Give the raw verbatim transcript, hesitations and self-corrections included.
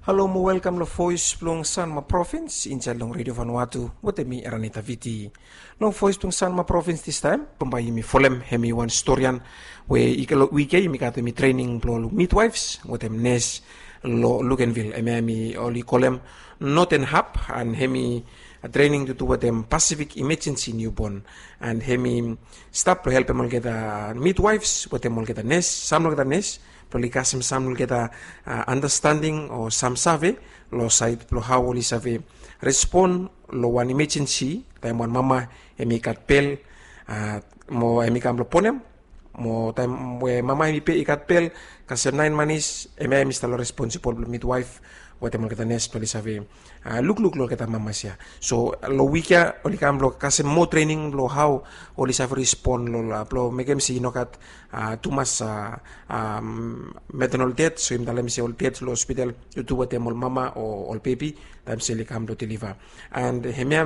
Halo mo welkam long Voes blong Sanma Provins insaed long Redio Vanuatu wetem mi, Eranita Viti. Long Voes blong Sanma Provins distaem bambae yumi folem hemi wan storian we i, long wik ya yumi gat hemi trening blong ol midwaefs wetem nes long Luganville, hemia hemi oli kolem Northern Hub, and hemi trening tu du wetem Pacific Emergency Newborn, and hemi stap blong helpem olgeta midwaefs wetem olgeta nes, sam long olgeta nes, blong oli kasem sam long olgeta andastanding o sam save long saed blong hao oli save respon long wan emergency taem wan mama hemi gat bel, mo hemi kam blong bonem, mo taem we mama hemi be i gat bel kasem naen manis, hemia hemi stap long responsibol blong midwaef wetem olgeta nes blong oli save lukluk long olgeta mamas ya. So long wik ya oli kam blong kasem moa trening blong hao oli save respon long, blong mekem se i no gat tumas maternal death, so yumi talem se ol death long hospital tu du wetem ol mama o ol bebi taem se oli kam blong deliva. And hemia